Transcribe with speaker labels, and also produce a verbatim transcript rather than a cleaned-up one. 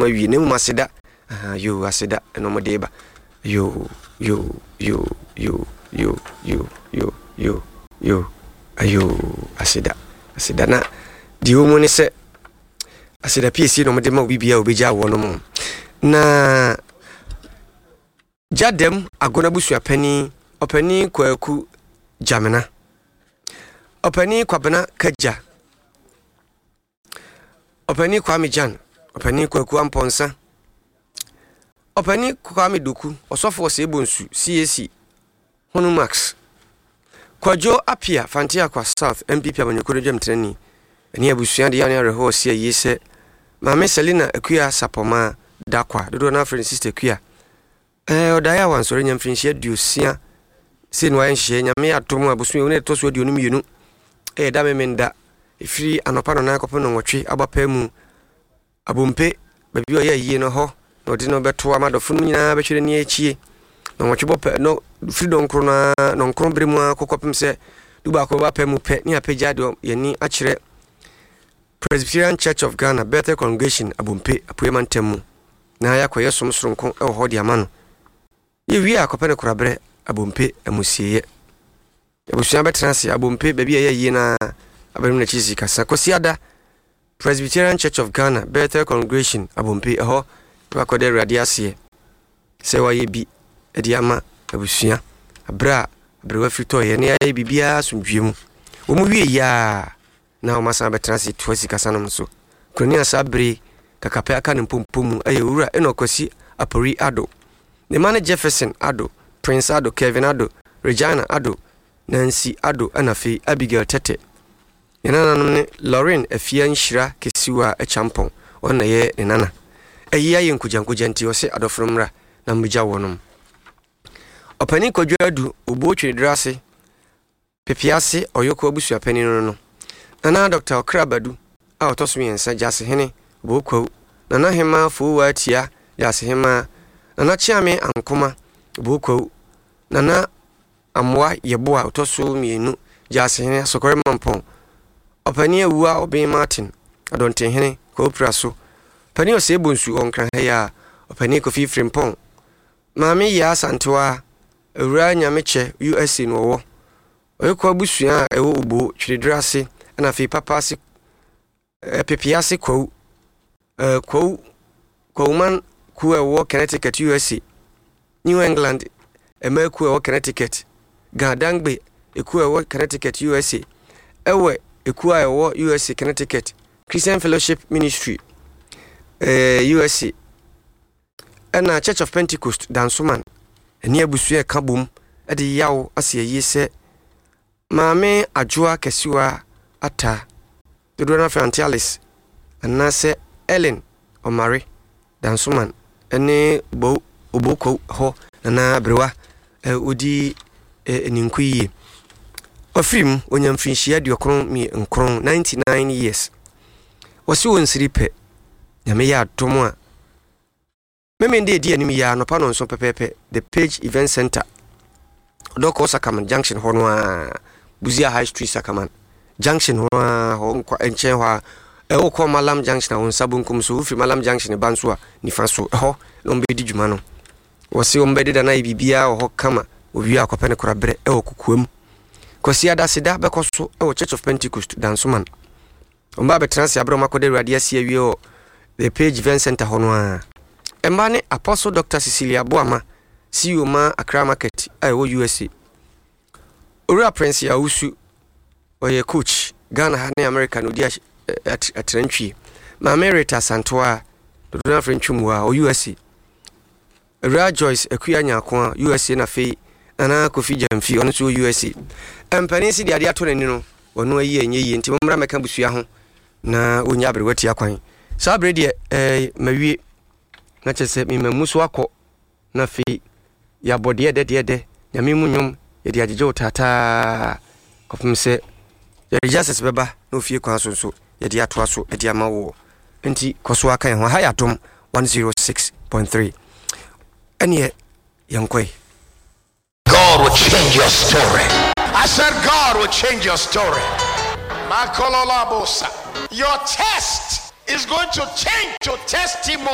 Speaker 1: Awie na mmom aseda. Aha, yo, aseda ɛna wɔn de ba. Yo, yo, yo, yo, yo, yo, yo, yo, yo, ayo, aseda, aseda. Na deɛ ɛwɔ mu ne sɛ aseda piesie na wɔde ma obi bia a obɛgya wɔ no mu. Na Gyadam Agona abusuapanin, Ɔpanin Kwaku Gyamena, Ɔpanin Kwabena Kagya, Ɔpanin Kwame Gyan, Ɔpanin Kwaku Ampɔnsa, Ɔpanin Kwame Doku, Ɔsɔfo Ɔsɛebonsu C A C Honu Max, Kwadwo Apia, Fanteakwa South N P P amanyɔkuo no dwamtenani, ɛne abusua de yɛ ne awerɛhoɔ ɔsi ayie sɛ Maame Selina Akua Sapɔmaa Dakwa, dodoɔ no afrɛ no Sister Akua, ɛɛ ɔdaeɛ a wansɔre nya mfirinhyia aduosia sei na wayɛ nhyehyɛ. Nyame atom a bosome wo ne ɛtɔ so aduonu mmienu, ɛyɛ da Memenda, ɛfiri anɔpa nɔnan kɔpem no nwɔtwe aba pɛ mu, Abompe baabi a ɔyɛ ayie no hɔ na ɔde no bɛto ama adɔfo no nyinaa bɛhwɛ n'ani akyie na nwɔtwe bɔ pɛ no, firi dɔnkoro no ara nɔnkron bere mu ara kɔkɔpem sɛ du baako bɛba pɛ mu pɛ ne apagya deɛ yɛni akyerɛ Presbyterian Church of Ghana, Bethel Congregation, Abompe, Apuei Mantam mu, na yɛakɔyɛ som soronko wɔ hɔ de ama no. Yɛwie a, akɔpɛ no koraberɛ Abompe amusieeɛ. Abusua bɛtena ase Abompe baabi a ɛyɛ yie no ara abɛnom n'akyi si kasa. Kwasiada, Presbyterian Church of Ghana, Bethel Congregation, Abompe, ɛhɔ na wakɔda Awurade aseɛ sɛ wayɛ bi de ama abusua aberɛ a aberewa firi tɔeɛ na yɛayɛ biribiara asomdwie mu. Wɔn wie yie a, na wɔn asan bɛtena ase toa sikasa nom so. Kurani a saa bere kakapɛ aka ne mpompo mu ɛyɛ Owura Enoch Kwasi Apori Ado. Ne mma ne Jefferson Ado, Prince Ado, Kevin Ado, Regina Ado, Nancy Ado, ɛna afei Abigail Tete. Ne nananom ne Lauren Afia Nhyira Kesiwa Akyampɔn, ɔno na ɛyɛ ne nana. Ɛyi ayɛ nkogyankogya nti ɔsɛ adɔfo no mmra na mmegya wɔnom. Ɔpanin Kwadwo Adu, Obuo Twedere ase, Pepease Ɔyɔkɔ abusuapanin no no. Nana Doctor Ɔkra Badu a ɔtɔ so mmiɛnsa, Gyasehene Obokwawu, Nana Hema Fowaa Tia, Gyasehema, Nana Kyeame Ankoma Obokwawu, Nana Amoa Yeboa ɔtɔ so mmienu, Gyasehene Asɔkɔre Mampɔn, Ɔpanin Awua Ɔben Martin, Adɔntenhene Kwawu so, Ɔpanin Ɔsɛe Bonsu wɔ Nkran ha yi a, Ɔpanin Kofi Frimpɔn, Maame Yaa Asantewa, Awura Nyamekyɛ U S A na ɔwɔ. Ɔyɛkɔ abusua a ɛwɔ Obo Twedere ase, ɛna afei Papa ase, Pepease Kwawu, ɛɛ Kwawu Kwawuman kuo a ɛwɔ Connecticut, U S A, New England mmaa kuo a ɛwɔ Connecticut, Gadangbe ekuo a ɛwɔ Connecticut, U S A, ɛwɔ ekuo a ɛwɔ U S A Connecticut, Christian Fellowship Ministry ɛɛ U S A, ɛna Church of Pentecost Dansoman ɛne abusua ɛka bom ɛde yaw ase ayie sɛ Maame Adwoa Kɛsewa Ata, dodoɔ no afei Auntie Alice anaasɛ Ellen Ɔmare Dansoman ɛne Bo Oboko hɔ nana aberewa ɛ ɔdi ɛ ninku yie. Ɔfiri mu onya mfirinhyia aduokron nkron, ninety-nine years. Wɔsi wɔn nsiri pɛ. Nyame yɛ adom a, Memende edi anim yi a, anɔpa no nso pɛpɛɛpɛ, The Page Event Center, Ɔdɔkɔ Sakaman Junction hɔ no a, Busia High Street, Sakaman Junction hɔ a, hɔ nkwa nkyɛn hɔ a ɛwɔ kɔ Malam Junction a, wɔn nsa bonkum so, wofiri Malam Junction ba nso a, nifa so ɛhɔ na wɔn bɛdi dwuma no. Wɔsi wɔn bɛdeda na ayɛ biribiara wɔ hɔ kama. Owie akɔpɛ ne koraberɛ ɛwɔ kukua mu. Kwasi Adaseda bɛkɔ so ɛwɔ Church of Pentecost Dansoman. Wɔn ba abɛtena ase abere wɔn akɔda Awurade ase awie wɔ The Page Event Center hɔ no ara. Mmaa ne Apostle Doctor Cecilia Boama, C E O ma Accra Market a ɛwɔ U S A, Owura Prince Yawusu, ɔyɛ coach Ghana ha ne America na ɔdi atrantwie. Maame Rita Santoa, dodoɔ no afrɛ Ntwemu a, ɔ U S A, Awura Joyce Akua Nyako a U S A, na afei Nana Kofi Gyamfi, ɔno nso wɔ U S A. Mpanin si de adeɛ ato n'ani no, ɔno ayi ɛnyɛ yie nti mommra mmɛka busua ho na ɔnya aberewa tia kwan. Saa bere deɛ ɛɛ mawie na kyerɛ sɛ mema mu so akɔ na afei yɛabɔ deɛ ɛdɛ deɛ ɛdɛ Nyame mu nnwom yɛde agyegye wo taataa kɔpem sɛ yɛde justice bɛba na ofie kwan so nso yɛde atoa so de ama woɔ. Nti kɔ so aka yɛn ho ha yɛ Adom one oh six point three. Ɛneɛ yɛnkɔe.
Speaker 2: God will change your story. I said, God will change your story. Makololabosa. Your test is going to change to testimony.